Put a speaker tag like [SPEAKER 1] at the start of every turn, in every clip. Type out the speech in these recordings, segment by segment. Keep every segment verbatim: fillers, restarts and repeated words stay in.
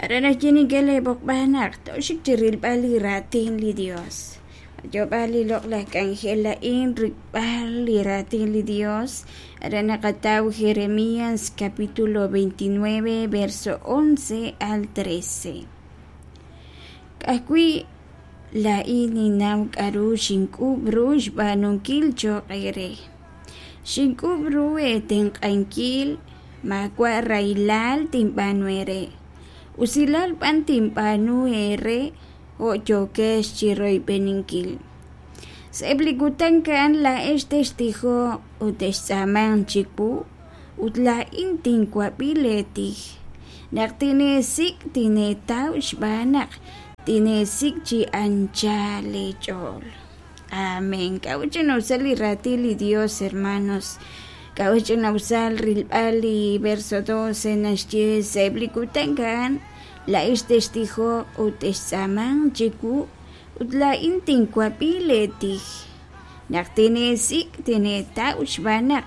[SPEAKER 1] Aran ajwi' nink'e leeb'oqb'al naq tooxik chi rilb'al li raatin li Dios. Yoob'al li loq'laj k'anjel a'in rik'b'al li raatin li Dios. Aran naqataw Jeremías capítulo veintinueve verso once al trece. K'ajwi' laa'in ninnaw k'a'ru xink'uub' ru xb'aanunkil cho'q eere. Xink'uub' ru eetenq'ankil, maawa' rahilal tinb'aanu eere, usilal b'an tinb'aanu eere jo' yookex chi royb'eninkil. Sa'eb' li kutan a'an laa'ex textijoq ut textz'aamanq chiwu, ut laa'in tinwab'i leetij. Naq tineesik' tineetaw xb'aan naq tineesik' chi anchal leech'ool. Amén. K'a'ut ch'ina'usal li raatin li Dios, hermanos? K'a'ut ch'ina'usal rilb'al li verso doce naxye sa'eb' li kutan a'an laa'ex textijoq ut textz'aamanq chiwu, ut laa'in tinwab'i leetij. Naq tineesik' tineetaw xb'aan naq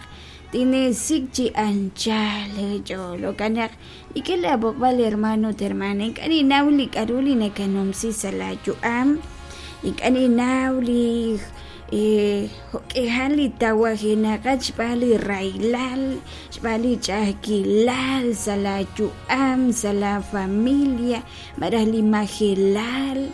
[SPEAKER 1] tineesik' chi anchal leech'ool. Jo'kan naq nink'e laab'oqb'al, hermano ut hermana, ink'a' ninnaw li k'a'ru li nakanumsi sa' laayu'am, ink'a' ninnaw li jo'k'ihal li tawajenaqat xb'aan li rahilal, xb'aan li ch'a'ajkilal sa' laayu'am, sa' la familia, malaj li majelal,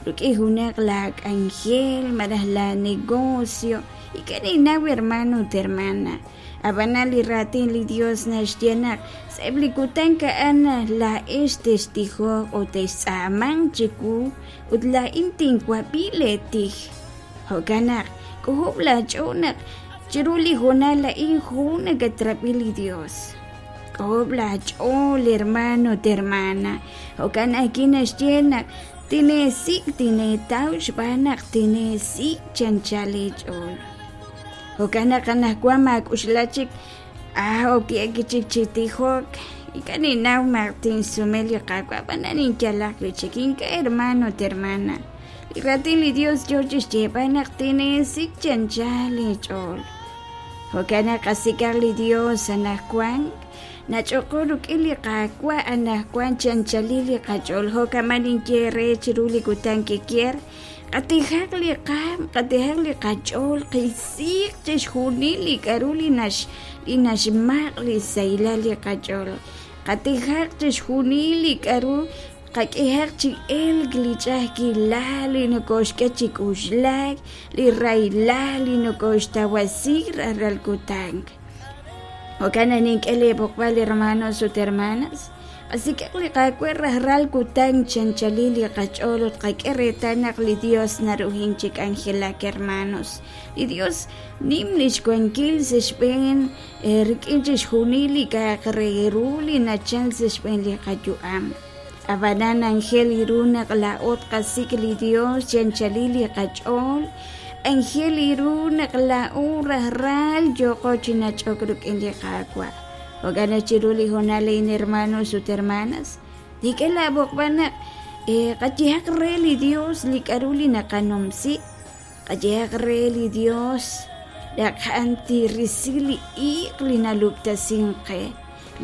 [SPEAKER 1] rik'in junaq la k'anjel, malaj la negocio. Ink'a' ninnaw, hermano ut hermana. Ab'anan li raatin li Dios naxye naq sa'eb' li kutan a'an laa'ex textijoq ut textz'aamanq chiwu, ut laa'in tinwab'i leetij. Jo'kan naq k'uhub' laach'ool naq chiru li hoonal a'in jun nakatrab'i li Dios. K'uhub' laach'ool, hermano ut hermana. Jo'kan ajwi' naxye naq tineesik' tineetaw xb'aan naq tineesik' chi anchal leech'ool. Jo'kan naq anaqwan maak'uxla chik ah ok'ihek chik chi tijok. Ink'a' ninnaw ma tinsume li Qaawa', ab'anan ninyalaq wi' chik. Ink'a', hermano ut hermana. Li raatin li Dios yoo chi xyeeb'al naq tineesik' chi anchal leech'ool. Jo'kan naq qasik'aq li Dios anaqwan, nach'oqo rik'in li Qaawa' anaqwan chi anchalil li qach'ool. Jo'kan ninye re chiru li kutan kikier, qatijaq li qaam, qatijaq li qach'ool, qisiq chixjunil li k'a'ru li nax li naxmaq' li sahilal li qach'ool. Qatijaq chixjunil li k'a'ru qak'ehaq chi elk li ch'a'ajkilal li nokoxk'e chi k'uxlak, li rahilal li nokoxtawasi rajlal kutan. Jo'kan naq nink'e leeb'oqb'al, hermanos ut hermanas, qasik'aq li Qaawa' rajlal kutan chi anchalil li qach'ool ut qak'e reetal naq li Dios naruhin chi k'anjelak, hermanos. Li Dios nim lix wankil sa' xb'een rik'in chixjunil li k'a'aq re ru li nachal sa' xb'een li qayu'am. Ab'anan anjel ru naq laa'o tqasik' li Dios chi anchalil li qach'ool, anjel ru naq laa'o rajlal yooqo chi nach'ok rik'in li Qaawa'. Jo'kan naq chiru li hoonal a'in, hermanos ut hermanas, nink'e laab'oqb'al naq qayehaq re li Dios li k'a'ru li naqanumsi, qayehaq re li Dios naq a'an tirisi li iiq li nalub'tasink qe,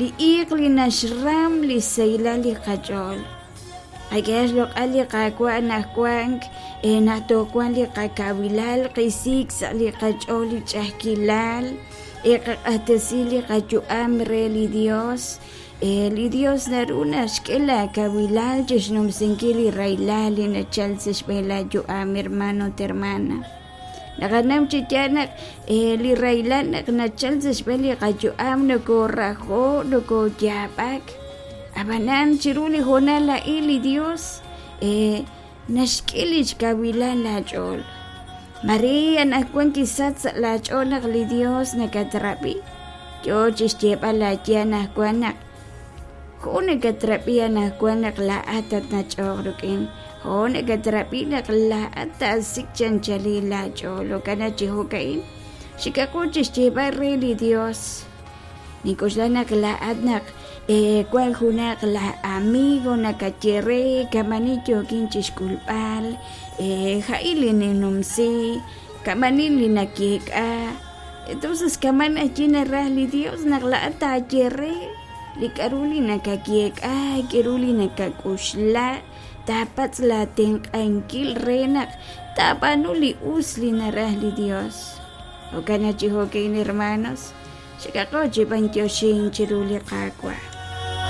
[SPEAKER 1] li iiq li naxram li sahilal li qach'ool. Qak'ehaq xloq'al li Qaawa' anaqwan naq toowanq li qakawilal, qisik sa' li qach'ool li ch'a'ajkilal, qaq'axtesi li qayu'am re li Dios. Li Dios naru naxk'e laakawilal chi xnumsinkil li rahilal li nachal sa' xb'een laayu'am, hermano ut hermana. Naqanaw chi yaal naq li rahilal naq nachal sa' xb'een li qayu'am nokorajo', nokoyaab'ak. Ab'anan chiru li hoonal a'in li Dios naxk'e lix kawilal laach'ool. Maria anaqwan kisach sa' laach'ool naq li Dios nakatrab'i. Yoo chi xyeeb'al laaye anaqwan naq jo' nakatrab'i anaqwan naq laa'at tatnach'oq rik'in. Jo' nakatrab'i naq laa'at taasik' chi anchalil laach'ool. Jo'kan naq chi jo'ka'in xik'aqo chi xyeeb'al re li Dios. Nink'uxla naq laa'at naq wan junaq la amigo nakaye re kamani yookin chi xk'ulb'al, ja'il li ninumsi, kamani li nakeek'a. Entonces kaman allí naraj li Dios naq laa'at taaye re. li k'a'ru li nakayeek'a, k'a'ru li nakak'uxla, taapatz' la tenq'ankil re naq taab'aanu li us li naraj li Dios. Jo'kan chi jo'kan, hermanos, xikaqo chi b'antioxink chiru li Qaawa'.